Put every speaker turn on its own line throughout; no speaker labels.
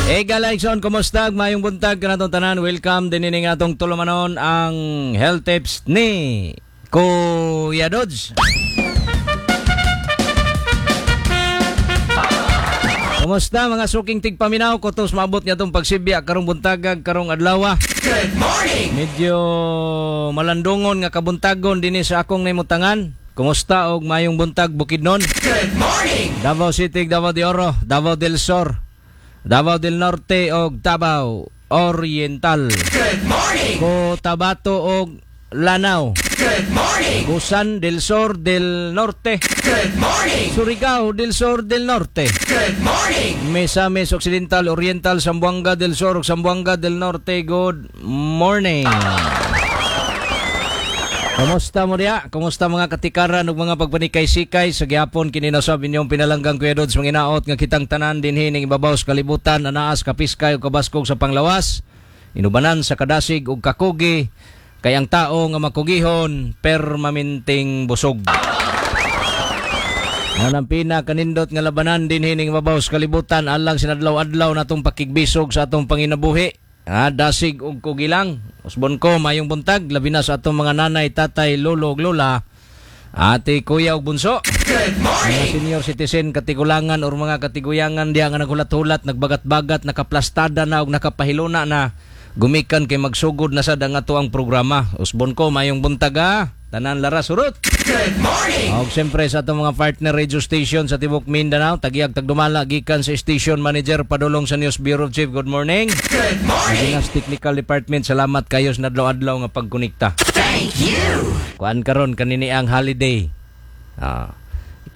Hey Galaxon, kumusta? Mayong buntag kanatong tanan. Welcome din ini nga atong tulumanon ang health tips ni Kuya Dodge. Kumusta mga suking tigpaminaw? Kutos maabot niya itong pagsibya karong buntagag karong adlaw.
Good morning.
Medyo malandungon nga kabuntagon dinhi sa akong naimutangan. Kumusta og mayong buntag Bukidnon?
Good morning.
Davao City, Davao de Oro, Davao del Sur, Davao del Norte og Davao Oriental.
Good morning.
Cotabato og Lanao.
Good morning.
Busan del Sur del Norte.
Good morning.
Surigao del Sur del Norte.
Good morning.
Misamis Occidental, Oriental, Zamboanga del Sur ug Zamboanga del Norte. Good morning. Kumusta mo diya? Kumusta mga katikaran ug mga pagpanikay-sikay sa gihapon kini nasab inyong pinalanggang Kuya Dodge manginaot nga kitang tanan dinhi ning ibabaw sa kalibutan anaas kapiskay ug kabaskog sa panglawas inubanan sa kadasig ug kakugi kay ang tao nga makugihon permanenteng busog. Ang pinakanindot nga labanan dinhi ning ibabaw sa kalibutan alang sinadlaw-adlaw natong pakigbisog sa atong panginabuhi. Dasig ug kugilang. Usbon ko mayong buntag labi na sa atong mga nanay, tatay, lolo ug lola, ate, kuya ug bunso.
Good morning.
Mga senior citizen, katigulangan or mga katiguyangan diha nga naghulat-hulat, nagbagat-bagat, nakaplastada na ug nakapahiluna na gumikan kay magsugod na sad ang ato ang programa. Usbon ko mayong buntag ha. Tanan lara surot.
Good morning.
Og siyempre sa atong mga partner radio station sa Tibok Mindanao, tagiyag tagdumala gikan sa station manager padulong sa News Bureau Chief. Good morning.
Good morning.
Sa technical department, salamat kayo sa nadlaw-adlaw nga pagkonekta.
Thank you.
Kuan karon kanini ang holiday.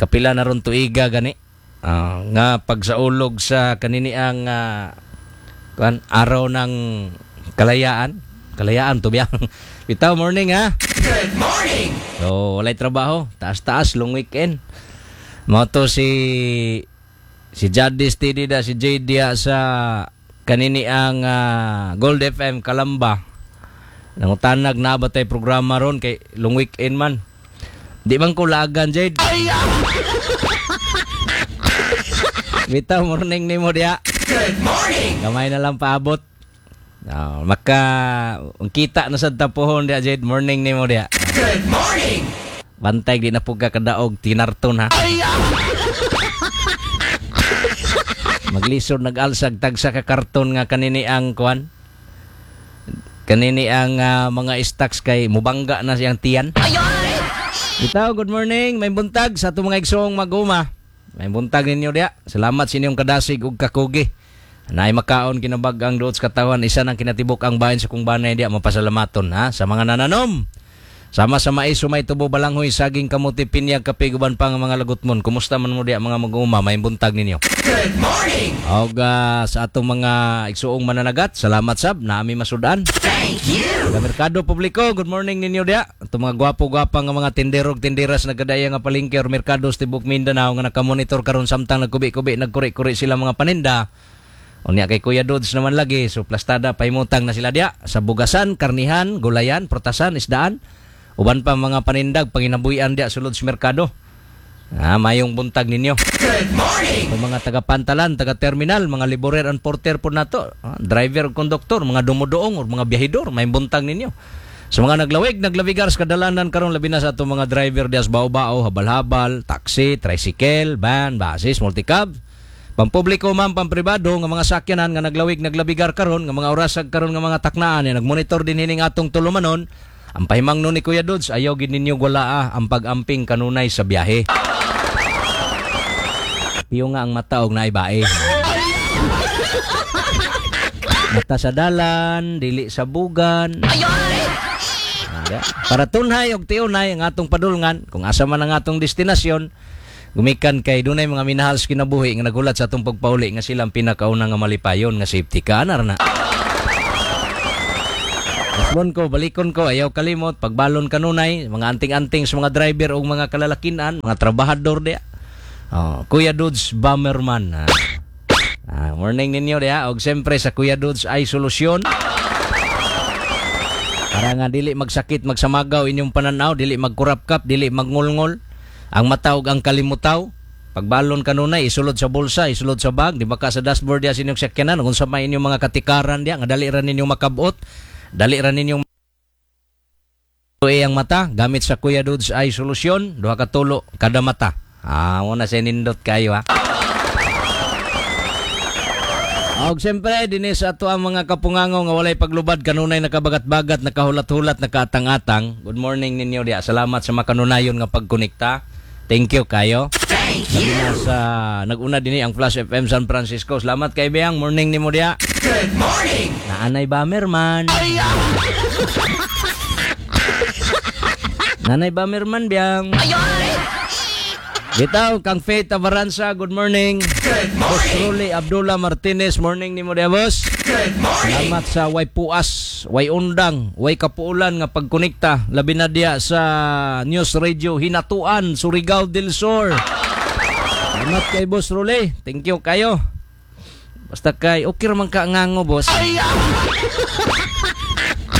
Kapila na ron tuiga gani. Nga pagsaulog sa kanini ang kuan araw ng kalayaan. Kalayaan to biya. Bitaw morning ha.
Good morning.
So, walay trabaho, taas-taas long weekend. Mao to si Jadis TD da si JD sa kanini ang Gold FM Kalamba. Nangutanag na ba tay programa ron kay long weekend man. Di man ko lagan, Jade. Bitaw morning nimo diya.
Good morning.
Gamay na lang paabot. Maka kita na sad tapuhon diya, Jade. Morning nimo diya.
Good morning.
Bantay di na po ka kadaog tinarton ha. Maglisod nag-alsag tagsa ka karton nga kanini ang kuan. Kanini ang mga stocks kay mubangga na siyang tiyan. Bitaw, good morning. May buntag sa atong mga igsoong maguma. May buntag ninyo diya. Salamat sa inyong kadasig ug kakugi. Naay makaon kinabag ang duot sa katawan, isa nang kinatibok ang bahin sa kung banay diya mapasalamaton ha sa mga nananom. Sama sa mais, sumay, tubo, balanghoy, saging, kamuti, pinya, kape, guban pa nga mga lagutmon. Kumusta man mo diya mga mag-uuma, may buntag ninyo.
Good morning.
Og sa atong mga igsuong mananagat, salamat sab, naami masudan.
Thank you.
Sa merkado publiko, good morning ninyo diya. Atong mga gwapo-gwapa nga mga tindero ug tinderas nagkadaya nga palengke or merkado sa Tibok Mindanao nga nakamonitor karon samtang nagkubi-kubi, nagkuri-kuri sila mga paninda. Unya kay Kuya Dodge naman lagi, so plastada pahimutang na sila diya sa bugasan, karnihan, gulayan, prutasan, isdaan. Uban pa mga panindag panginabuhian diya sulod sa merkado. Mayong buntag ninyo.
Good morning.
Ang mga taga-pantalan, taga-terminal, mga liborer and porter po nato, driver, konduktor, mga dumudoong or mga biyahidor, may buntag ninyo. Sa mga naglawig, naglabigar sa kadalanan karon labi na sa atong mga driver diya sa bao-bao, habal-habal, taxi, tricycle, van, buses, multicab. Pampubliko man, pampribado, nga mga sakyanan nga naglawig, naglabigar karon, nga mga orasag karon nga mga taknaan, nagmonitor din hining atong tulumanon. Ang pahimang nun ni Kuya Dodge, ayaw gid ninyo walaa ang pag-amping kanunay sa biyahe. Piyo nga ang mata og naibae. Mata sa dalan, dili sa bugan. Para tunhay og tiunay ang atong padulngan, kung asa man ang atong destinasyon, gumikan kay dunay mga minahal sa kinabuhi nga nagulat sa atong pagpauli nga silang pinakauna nga malipayon nga safety ka anar na. Usbon ko, balikon ko, ayaw kalimot, pagbalon kanunay, mga anting-anting sa mga driver o mga kalalakinan, mga trabahador diya. Oh, Kuya Dodge Bomberman. Morning ninyo diha. Og siyempre sa Kuya Dodge ay solusyon. Para nga dili magsakit, magsamagaw inyong pananaw, dili magkurapkap, dili magngulngol. Ang mata ug ang kalimutaw. Pagbalon kanunay isulod sa bulsa, isulod sa bag, di ba ka sa dashboard diya sa inyong sakyanan kung sa may inyong mga katikaran diya nga dali ra ninyong makabot, dali ra ninyong ang mata gamit sa Kuya Dudes Eye Solution, duha ka tulo kada mata. Ah, mo na sa nindot kayo ha. Og siyempre, dinhi sa ato ang mga kapungango nga walay paglubad, kanunay nakabagat-bagat, nakahulat-hulat, nakaatang-atang. Good morning ninyo diya. Salamat sa makanunayon nga pagkonekta. Thank you kayo.
Thank
Sabi
you.
na sa nag-una dinhi ang Flash FM San Francisco. Salamat kay Beyang. Morning nimo diya.
Good morning.
Naanay Bamerman. Nanay Bamerman biyang. Bitaw kang Faith Avaranza, good morning.
Good
Boss
morning.
Rolly Abdullah Martinez, morning nimo diya, boss.
Good morning.
Salamat sa way puas, way undang, way kapuulan nga pagkonekta labi na diya sa News Radio Hinatuan, Surigao del Sur. Salamat kay Boss Rolly. Thank you kayo. Basta kay okay ra man ka ngango, boss.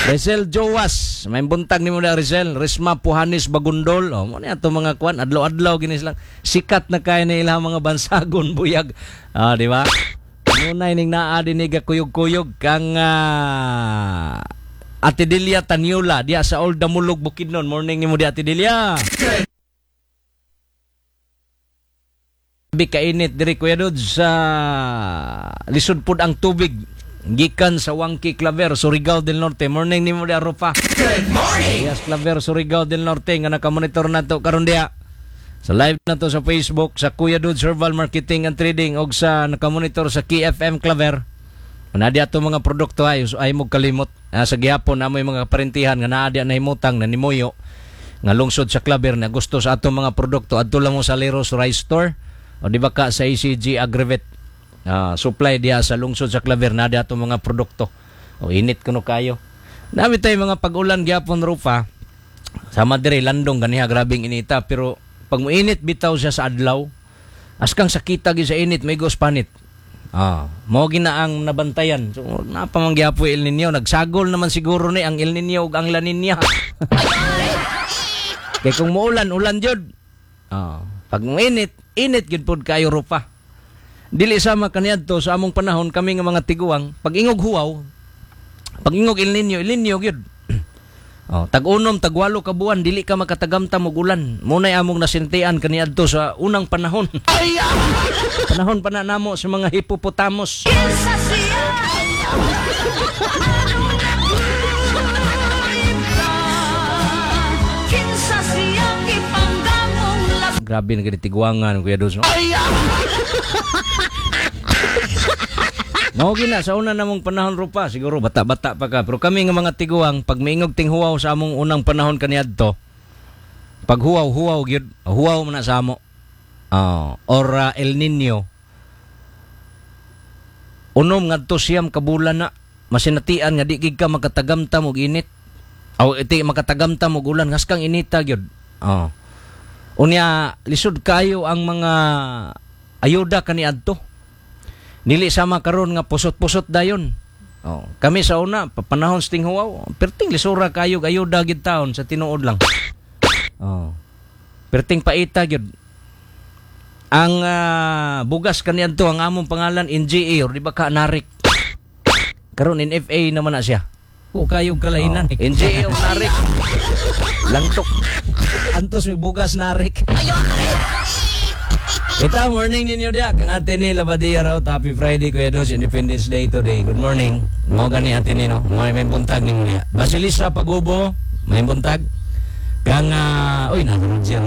Rizel Jowas, may buntag nimo na Rizel, Risma Puhanis Bagundol. Oh, mo ni ato mga kwan, adlaw-adlaw gini silang sikat na kay na ilang mga bansagon buyag. Ah, di ba? Nunay ning naa dinhi ga kuyog-kuyog kang Ate Delia Tanyula diya sa Old Damulog Bukidnon. Morning nimo di Ate Delia. Grabe kainit diri Kuya Dudes sa lisod pud ang tubig gikan sa Wangki Claver, Surigao del Norte. Morning nimo di Rupa.
Good morning.
Yes, Claver, Surigao del Norte nga nakamonitor nato karon diha. Sa live na to sa Facebook sa Kuya Dudes Herbal Marketing and Trading og sa nakamonitor sa KFM Claver. Naa diha ato mga produkto ay ay mo kalimot. Ah, sa gihapon amoy mga kaparentihan nga naa diha nahimutang na nimuyo nga lungsod sa Claver na gusto sa atong mga produkto, adto lang mo sa Leros Rice Store o di ba ka sa ACG Agrivet. Ah, supply diha sa lungsod sa Claver na diha atong mga produkto. O init kuno kayo. Nami tayo mga pag-ulan gihapon Rupa. Sama dire landong ganiha grabing inita pero pag muinit bitaw siya sa adlaw askang sakita gyud sa init may panit. Ah, mao gina ang nabantayan. So napa man gyapon El Nino, nagsagol naman siguro ni ang El Nino ug ang La Nina. Kay kung muulan, ulan jud. Ah, pag muinit, init gyud pod kayo Rupa. Dili sama kaniadto sa among panahon kami nga mga tiguang, pag ingog huwaw, pag ingog El Nino, El Nino gyud. Oh, tag-unom, tag-walo ka buwan, dili ka makatagamtam og ulan. Muna'y among nasintian kaniadto sa unang panahon. Panahon pa na namo sa mga hippopotamus. Grabe na gani tiguangan, Kuya Dos, no? Mao gina sa una namong panahon Rupa, siguro bata-bata pa ka, pero kami nga mga tiguang pag miingog tinghuwaw sa among unang panahon kaniadto, pag huwaw-huwaw gyud, huwaw man na sa amo. Oh, or El Nino. Unom ngadto siyam ka bulan na masinatian nga di gid ka makatagamtam og init. Aw iti makatagamtam og ulan ngaskang inita gyud. Oh. Unya lisod kayo ang mga ayuda kaniadto. Dili sama karon nga pusot-pusot dayon. Oh, kami sa una panahon sa tinghuwaw, perting lisura kayo ayuda gid taon sa tinuod lang. Oh. Perting paita gyud. Ang bugas kaniadto ang among pangalan NGA or di ba ka narik. Karon NFA naman na siya.
O kayo kalainan.
Oh, NGA o narik. Langtok.
Antos may bugas narik.
Ita, morning ninyo diya. Kang ate ni Labadia raw. Happy Friday, Kuya Dos. Independence Day today. Good morning. Mo gani ate ni, no? Mo may buntag ni mo niya. Basilisa Pagubo. May buntag. Kang, uy, nang Roger.